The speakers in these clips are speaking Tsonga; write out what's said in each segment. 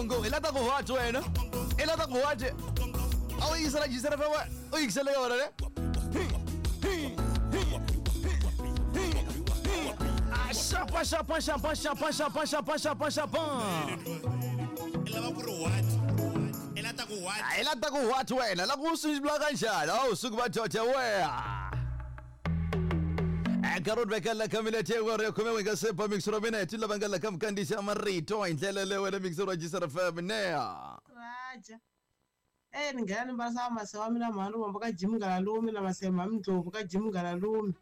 Ngo i la ta ku what wena i la ta ku what a wu yingisela jisela fa wa u yingisele ka wena ne Ah, xapa xapa xapa xapa xapa xapa xapa xapa i lava ku ri what i la ta ku what i la ta ku what wena la ku swi vula kanjhani a wu suki va dyoja weha nkarhi wu vekela ka minete yin'wana ya khume n'we nga se ba mixer wa mina hi ti lava nga la ka mukandisi ya marito hi ndlela leyo wena mixer wa jisr fm nea Raja. Eh ni nghena ni mbarisa mase wa mina mhani vombo ka Jim Ngalalume na mase mhani Ndlovu ka Jim Ngalalume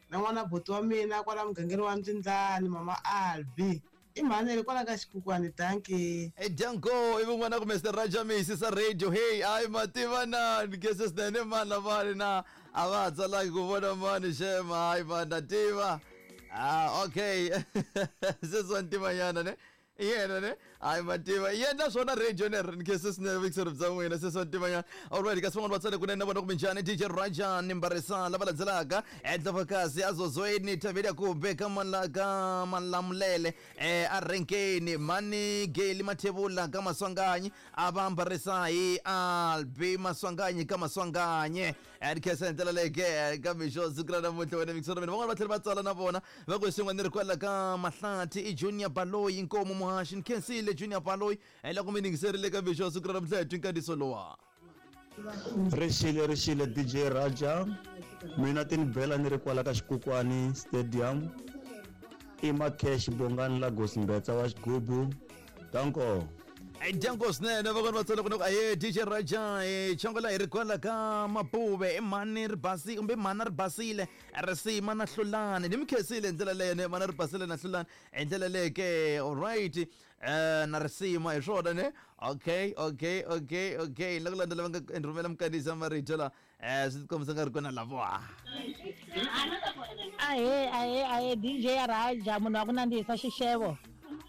na n'wana buti wa mina kwala mugangeni wa Ndlindlani mama Albi. I mhani le kwala ka xikukwani dankie. Danko i vun'wana ku Mr Raja Misi sa radio hey ayi mativa na ni kese swinene mani lavani na a va ha tsalangi ku vona mani xema hayi mani na tiva ah okay se swa ntivanyana ne i yena ne hayi mativa i yena swona radio ne ni kese swinene vuyingiseri bya n'wina se swa ntivanyana alright kasi van'wana va tsale kunene na vona kumbe njhani DJ Raja ni mbarisa lava landzelaka Ndlovukasi azozweni thaveli ya kumbe ka ka Malamulele a Renkeni mhani Geli Mathebula ka Maswanganyi a va ambarisa hi Albi Maswanganyi ka Maswanganye ni khensa hi ndlela leyi ke ka mixo siku ra namuntlha wena mixo mina van'wana va tlhela va tsala na vona va ku xin'wana ni ri kwala ka Mahlathi i Junior Baloyi Nkomo Muhaxi ni khensile Junior Baloyi loko mi yingiserile ka mixo siku ra namuntlha hi twi nkandziso lowa. Rixile rixile DJ Raja mina ti ni bela ni ri kwala ka Xikukwani Stadium i Macash Bongani Lagos Mbetsa wa xigubu danko. Dyango swinene vakona va tsala ku aye DJ Raja chongola hi ri kwala ka Mapuve i mhani ri basi kumbe mhana ri basile risima na hlulani ni mi khensile hi ndlela leyo ne mhana ri basile na hlulani hi ndlela leyo ke alright Na risima hi swona ne okay okay okay okay la ku landzela va nga rhumela minkandziyiso ya marito la swi tikombisa nga ri kona lavoa Ahee ahee ahee DJ ya Raja munhu wa ku nandzihisa xixevo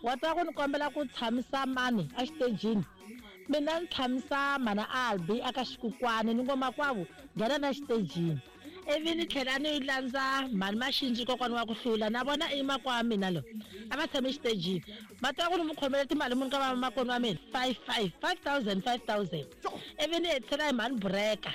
wa twa ku ni kombela ku tshamisa mani exitejini mina ni tshamisa mhana Albi aka xikukwani ni ngo makwavo nghena na xitejini ivi ni tlhela ni landza mhani Maxindzi kokwana wa ku hlula na vona i makwa wa mina lo a va tshame xitejini va tiva ku ni mu khomele timali muni ka vamakwenu wa mina five five five thousand five thousand ivi ni hetisela hi mhani Bureka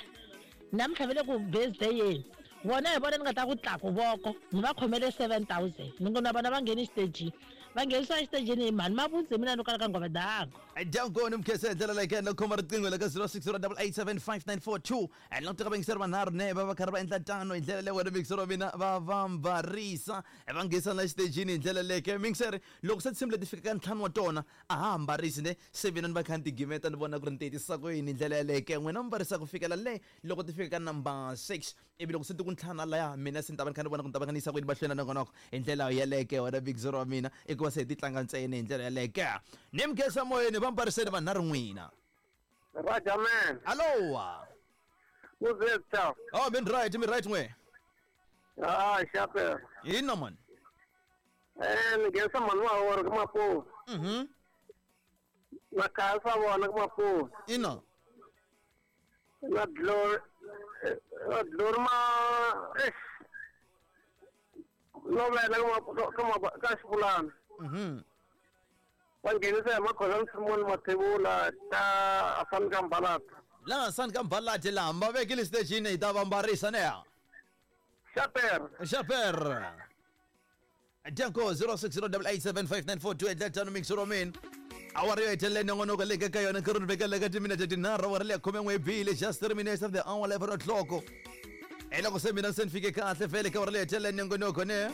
namuntlha va le ku birthday yeni vona hi vona ni nga ta ku tlaku voko ni va khomele 7000 ni ngo na vona va ngheni xitejini va nghenisiwa exitejini hi mhani Mavundzi hi mina no kala ka nghova dango. Danko ni mukhensa hi ndlela leyi ka yena khoma riqingho la ka 0608875942 and loko teka vayingiseri vanharhu ne va va karhi va endla tano hi ndlela leyi wena muyingiseri wa mina va va mbarisa va nghesa na xitejini hi ndlela leyi ke muyingiseri loko se tinsimu leti fika ka ntlhanu wa tona a ha ha mbarisi ne se mina ni va kha ni tigimeta ni vona ku ri ni tiyetisa ku yini hi ndlela yaleyo ke n'wina mi mbarisa ku fikela le loko ti fika ka number 6 ivi loko se ti ku ntlhanu laya mina se ni ta va ni kha ni vona ku ni ta va kha ni yisa ku yini mahlweni na nongonoko hi ndlela yaleyo ke wena muyingiseri wa mina i ku va se hi ti tlanga ntsena hi ndlela yaleyo ke ni mi khensa moyeni va mbariseni vanharhu n'wina Raja man. Alowa. Who's Oh, mi right, mi right n'we. Ah, xape. Ina man. Eh, ni nghenisa mhani wa wona ka Mapuve. Na khaya swa vona ka Mapuve. Ina. Na Glory na Glory ma eh. Lovela ka ma ka Xipulana. Va nghenisa hi Makhoza Nsimoni Mathebula ka Asani ka Mbalati. Laha Asani ka Mbalati laha va vekile xitejini hi ta va mbarisa ne. Xaper. Xaper. Danko 0608875942 endla tano mixer wa mina. Awara yo hetelela nongonoko leyi ka yona nkarhi ni vekela ka timinete tinharhu awara leya khume n'we bile just 3 minutes of the hour 11 o'clock. Hi loko se mina se ni fike kahle vhele ka awara leyi hetelela nongonoko ne.